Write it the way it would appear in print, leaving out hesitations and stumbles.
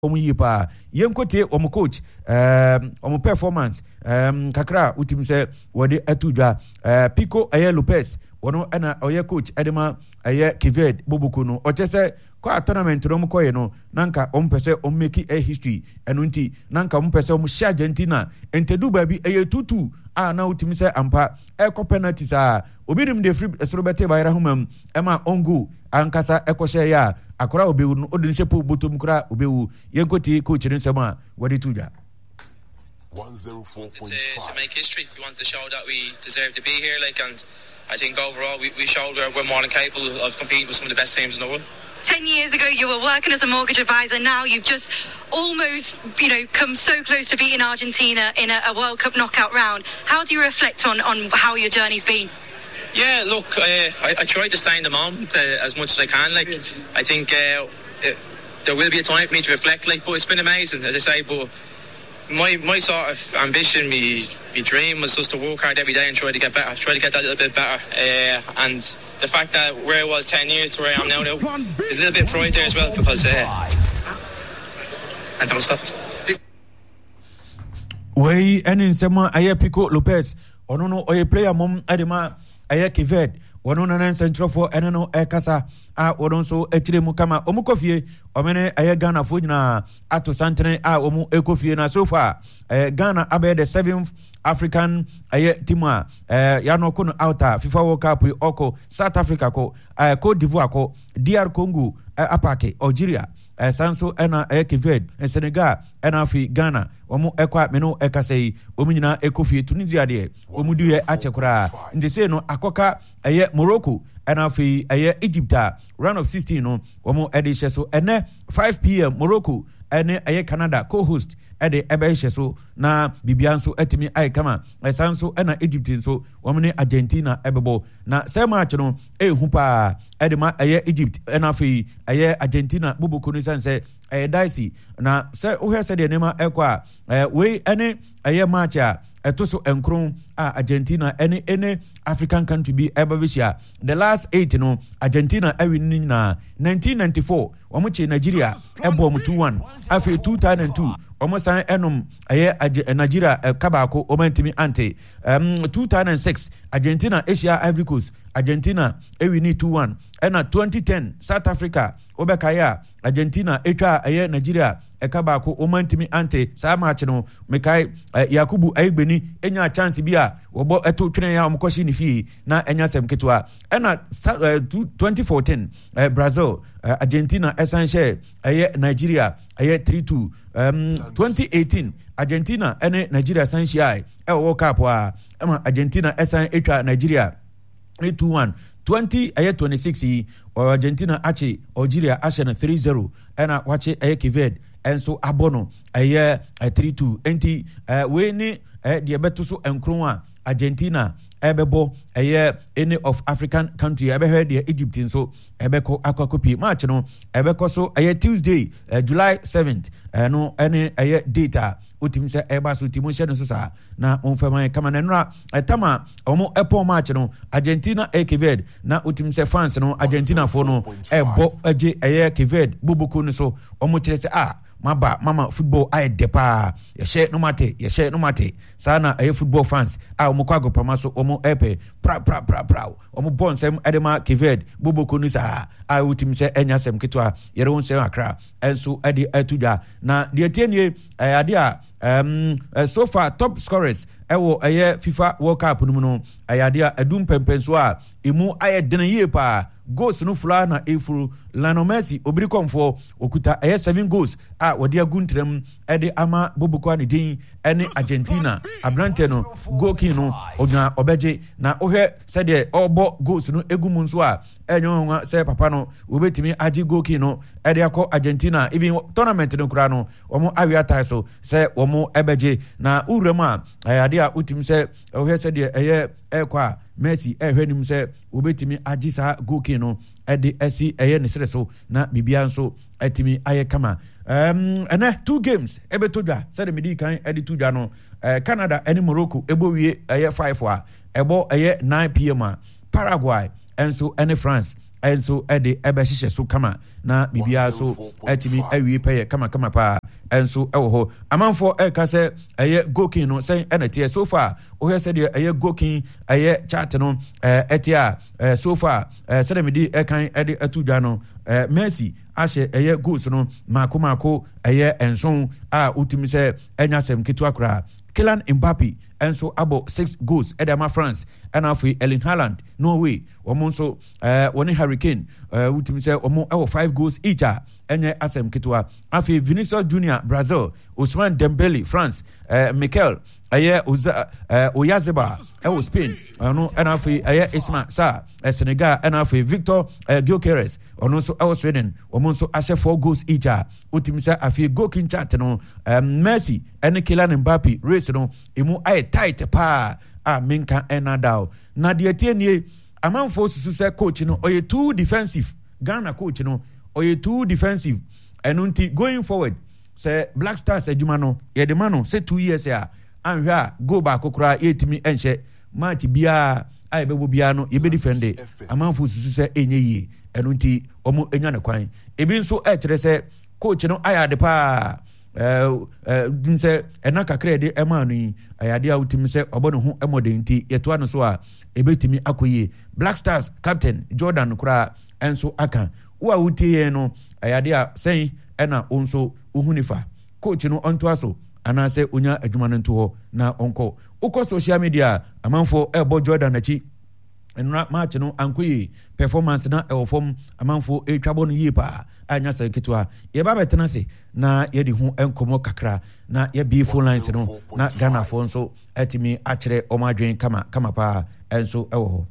Wɔn yie paa. Yɛnkɔtie wɔn coach, um, wɔn performance um, kakra a wotumi sɛ wɔde ato dwa. Pico ɛyɛ Lopez, wɔn ɛna ɔyɛ coach ɛde ma ɛyɛ Kived Boboko no. Ɔkyɛ sɛ kɔ a tournament no wɔn kɔyɛ no, na nka wɔn pɛ sɛ wɔn make a history. Ɛno nti, na nka wɔn pɛ sɛ wɔn hyɛ Argentina. Ntɛdu baabi ɛyɛ tutu a na wotumi sɛ ampa ɛkɔ penalty saa. Obi nim deɛ firi soro bɛte bayera homa mu ɛma on goal ankasa ɛkɔhyɛ yɛ a akora a ɔbɛwu no wode no hyɛ po bɔtɔ mu koraa ɔbɛwu. Yɛnkɔtie coach no nsɛm a wɔde to dwa. To, to make history. We want to show that we deserve to be here. Like, and I think overall we, we showed we're, we're more than capable of competing with some of the best teams in the world. 10 years ago you were working as a mortgage advisor now you've just almost you know come so close to beating argentina in a, a world cup knockout round how do you reflect on on how your journey's been yeah, look, uh, I, I try to stay in the moment uh, as much as I can. Like, I think uh, it, there will be a time for me to reflect. Like, but it's been amazing, as I say. But my my sort of ambition, my, my dream was just to work hard every day and try to get better, try to get that little bit better. Uh, and the fact that where I was 10 years to where I am now, now there's a little bit of pride there as well because uh, I never stopped. Wei ɛne nsɛm a ɛyɛ Pico Lopez ɔno no ɔyɛ player mom ɛde ma ɛyɛ Kived wɔn no ne nsɛntwerɛfoɔ ɛne no ɛkasa a wɔn nso akyire mu kama wɔn kɔ fie wɔn ne ɛyɛ Ghanafoɔ nyinaa ato santene a wɔn ɛkɔ fie na so far ɛɛ Ghana abɛyɛ the seventh African ɛyɛ team a ɛɛ yanɔ ko no out a FIFA World Cup yi ɔkɔ South Africa kɔ ɛɛ Cote d'Ivoire kɔ DR Congo ɛɛ apake Algeria Ɛsan nso ɛna ɛyɛ Cape Verde, Senegal ɛna afei Ghana. Wɔn ɛkɔ a me ne wo ɛkasa yi, wɔn nyinaa ɛkɔ fie. Tunisia deɛ wɔn duiɛ akyɛ koraa. Nti sei no akɔka ɛyɛ Morocco ɛna afei ɛyɛ Egypt a round of 16 no wɔn ɛde hyɛ so. Ɛnɛ 5 pm Morocco ɛne ɛyɛ Canada co-host ɛde ɛbɛhyɛ so na biribiara nso atumi ayɛ kama. Ɛsan nso ɛna Egypt nso wɔn ne Argentina ɛbɛbɔ. Na sɛ match no ɛyɛ hu paa ɛde ma ɛyɛ Egypt ɛna afei ɛyɛ Argentina boboko no sane sɛ ɛyɛ dicey na sɛ wohwɛ sɛdeɛ nneɛma ɛkɔ a ɛɛ wei ɛne ɛyɛ match a ɛto so nkron a Argentina ɛne ɛne African country bi ɛba bɛhyia. The last eight no Argentina ɛwi no nyinaa. 1994 wɔn kye Nigeria ɛbɔ wɔn 2-1. Afei 2002 wɔn san ɛnom ɛyɛ Nigeria ɛka baako wɔn antumi ante. 2006 Argentina ahyia Ivory Coast, Argentina ɛwi ne 2-1. Ɛna 2010 South Africa wobɛkaeɛ a Argentina ɛtwa ɛyɛ Nigeria ɛka baako wɔn antumi ante saa match no. Mekae Yakubu Ayigbeni ɛnya chance bi a wɔbɔ ɛto twene a wɔkɔhye ne fie na ɛnya sɛm ketewa. Ɛna 2014 Brazil Argentina ɛsan hyɛ ɛyɛ Nigeria ɛyɛ 3-2. 2018 Argentina ɛne Nigeria san hyia ɛwɔ World Cup a ɛma Argentina ɛsan atwa Nigeria 2-1. 20 ɛyɛ 26 yi Argentina akye Algeria ahyɛ no 3-0 ɛna wakye ɛyɛ Cape Verde ɛnso abɔ no ɛyɛ 3-2. Nti wei ne deɛ ɛbɛto so nkron a Argentina ɛbɛbɔ ɛyɛ any of African country. Ɛbɛhwɛ deɛ Egypt nso ɛbɛkɔ akɔ akɔpie. Match no ɛbɛkɔ so ɛyɛ Tuesday July 7th. Ɛno ɛne ɛyɛ date a wotumi sɛ ɛba so ti mo nhyɛ no so saa na wɔn fɛn kama na nnora ɛtam a wɔn ɛpɔn match no Argentina ɛyɛ Cape Verde na wotumi sɛ fans no Argentina foɔ no ɛbɔ ɛgye ɛyɛ Cape Verde boboko no so. Wɔn kyerɛ sɛ a maba mama football ayɛ dɛ paa, yɛhyɛ no mate, yɛhyɛ no mate saa na ɛyɛ football fans a wɔn kɔ agopama so wɔn ɛpɛ pra pra pra pra wɔn bɔ nsɛm ɛde ma Cape Verde boboko no saa a wotumi sɛ ɛnya asɛm ketewa yɛde wɔn nsɛm akra ɛnso ɛde ɛto dwa. Na deɛ tie nie, ɛyɛ adeɛ a so far top scorers ɛwɔ ɛyɛ FIFA World Cup no mu no ɛyɛ adeɛ a ɛdu mpɛmpɛnso a emu ayɛ dene yie paa. Goals no fura na efuru Lionel Messi obiri kɔnfoɔ okuta ɛyɛ seven goals a wɔde agu ntɛm ɛde ama boboko a ne din ɛne Argentina. Aberante no goal king no ɔnya ɔbɛgye na wohwɛ sɛdeɛ ɔrebɔ goals no egu mu nso a ɛnyɛ nwanwa sɛ papa no wɔbɛtumi agye goal king no ɛde akɔ Argentina. Even tournament no koraa no wɔn awe atae so sɛ wɔn ɛbɛgye na wura mu a ɛyɛ adeɛ a wotumi sɛ wohwɛ sɛdeɛ ɛyɛ ɛrekɔ a Messi ɛrehwɛ anim sɛ wɔbɛtumi agye saa goal king no ɛde asi ɛyɛ ne serɛ so na biribiara nso atumi ayɛ kama. Ɛnɛ two games ɛbɛtɔ dwa sɛdeɛ mede kan ɛde to dwa no. Canada ɛne Morocco ɛbɔ wie ɛyɛ 5 a ɛbɔ ɛyɛ 9 pm a Paraguay ɛnso ɛne France. nso de ɛbɛhyehyɛ so kama na biribiara so atumi awie pɛyɛ kamakama paa nso wɔ hɔ. Amanfoɔ ɛreka sɛ ɛyɛ gokin no sɛn ɛna ɛteɛ so far. Wohwɛ sɛdeɛ ɛyɛ gokin ɛyɛ chart no ɛteɛ a, so far sɛdeɛ mede ɛkan ɛde ato dwa no, Messi ahyɛ ɛyɛ goals no mako mako ɛyɛ nson a wotumi sɛ ɛnya asɛm ketewa koraa. Kylian Mbappe nso abɔ six goals ɛde ama France, ɛna afei Erling Haaland, Norway, wɔn nso wɔne Harry Kane, wotumi sɛ wɔn ɛwɔ five goals each a ɛnyɛ asɛm ketewa. Afei Vinicius Junior, Brazil, Ousmane Dembele, France, Mikel ɛyɛ Oza Oyarzabal ɛwɔ Spain, ɔno ɛna afei ɛyɛ Isma Sarr, Senegal, ɛna afei Victor Gyökeres, ɔno nso ɛwɔ Sweden, wɔn nso ahyɛ four goals each a wotumi sɛ afei goal king chart no, Messi ɛne Kylian Mbappe race no emu ayɛ tight paa a menka ɛna da o. Na deɛ tie nie, amanfoɔ susu sɛ coach no ɔyɛ too defensive. Ghana coach no ɔyɛ too defensive, ɛno nti going forward sɛ Black Stars adwuma no yɛde ma no sɛ 2 years a, anhwɛ a goal baako koraa yɛtumi nhyɛ. Match biara a yɛbɛbɔ biara no yɛbɛdi fɛnde. Amanfoɔ susu sɛ ɛnyɛ yie, ɛno nti wɔn anya no kwan. Ebi nso ɛkyerɛ sɛ coach no ayɛ ade paa ɛɛ ɛɛ sɛ ɛna kakra yɛde ɛmaa no yi ɛyɛ adeɛ a wotumi sɛ ɔbɔ ne ho mmɔden, nti yɛtoa no so a ɛbɛtumi akɔ yie. Black Stars captain Jordan koraa ɛnso aka. Wo a wotie yɛn no, ɛyɛ adeɛ a sɛn ɛna wo nso wohu nifa coach no, ɔntoa so anaasɛ onya adwuma no nto hɔ na ɔnkɔ? Wokɔ social media, amanfoɔ ɛrebɔ Jordan akyi. Nnora match no ankɔ yie, performance na ɛwɔ fam, amanfoɔ ɛretwa bɔ no yie paa a nya sɛ nketewa. Yɛba bɛtena ase na yɛde ho nkɔmmɔ kakra na yɛbie phone lines no na Ghanafoɔ nso atumi akyerɛ wɔn adwene kama kama paa ɛnso ɛwɔ hɔ.